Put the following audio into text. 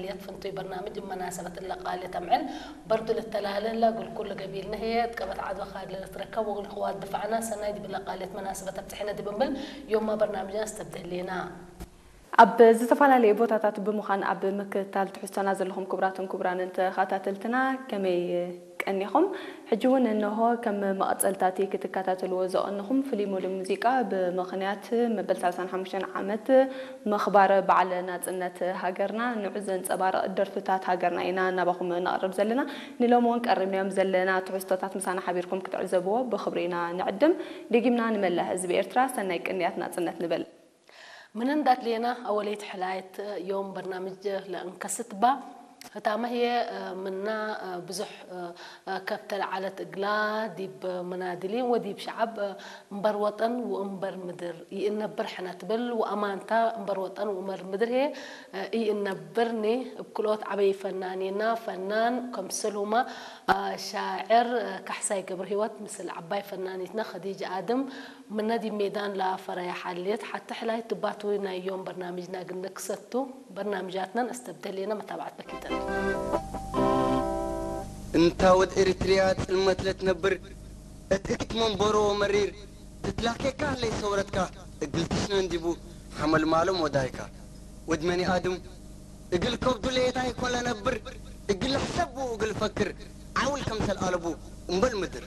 የት ፍንቱይ በርናምጅ መናሰበት ለቃልየት ኣምዕል በርዱ ልተላለ ላ ግልኩል ገቢል ነህየ ጥቀበት ዓድዋ ካድለ ልትረከብ ወግልክዋ ድፋዕና ሰናይ ዲብ ለቃልየት መናሰበት ኣብጽሕነ ዲብ እምብል ዮማ በርናምጅና ስተብደሌና። ኣብ ዝተፈላለዩ ቦታታት ብምዃን ኣብ ምክትታል ትሕዝቶና ዘለኹም ክቡራትን ክቡራንን ተኸታተልትና ከመይ ቀኒኹም? ሕጂ እውን እንሆ ከም መቐጸልታቲ ክትከታተልዎ ዘቐንኹም ፍሉይ ሙሉእ ሙዚቃ ብምኽንያት መበል ሰላሳን ሓሙሽተን ዓመት ምኽባር በዓል ናጽነት ሃገርና ንዑ ዘንጸባርቕ ደርፍታት ሃገርና ኢና ናባኹም ነቕርብ ዘለና። ንሎሚ እውን ቀሪብናዮም ዘለና ትሕዝቶታት ምሳና ሓቢርኩም ክትዕዘብዎ ብኽብሪ ኢና ንዕድም። ደጊምና ንመላእ ህዝቢ ኤርትራ ሰናይ ቅንያት ናጽነት ንበል። ምንንዳት ሌና ኣወለይት ሕላየት ዮም በርናምጅ ለእንከስት ባ ህታመ ህየ ምና ብዙሕ ከብተ ለዓለት እግላ ዲብ መናድሊን ወዲብ ሸዓብ እምበር ወጠን ወእምበር ምድር ይእነብር ሕነ ትብል ወኣማንታ እምበር ወጠን ወእምበር ምድር ህየ ይእነብርኒ እብ ክልኦት ዓበይ ፈናኒና ፈናን ከምስል ሁማ ሻዕር ካሕሳይ ገብረ ህይወት ምስል ዓባይ ፈናኒትና ኸዲጅ ኣድም ምነዲ ሜዳን ላፈረያ ሓልየት ሓቲ ሕላይ ትባቱ ናይ ዮም በርናምጅና ግንክሰቱ በርናምጃትናን ኣስተብደሌና መታባዕት በኪተን። እንታ ወድ ኤሪትሪያ ጽልመት ለትነብር እት እግት መንበሮ ወመሪር ትትላኬካ ለይ ሰውረትካ እግል ትሽነ እንዲቡ ሓመል ማሎም ወዳይካ ወድ መኒ ኣድም እግል ከብዱ ለየታይ ኮን ለነብር እግል ሕሰቡ እግል ፈክር ዓውል ከምሰል ኣለቡ እምበል ምድር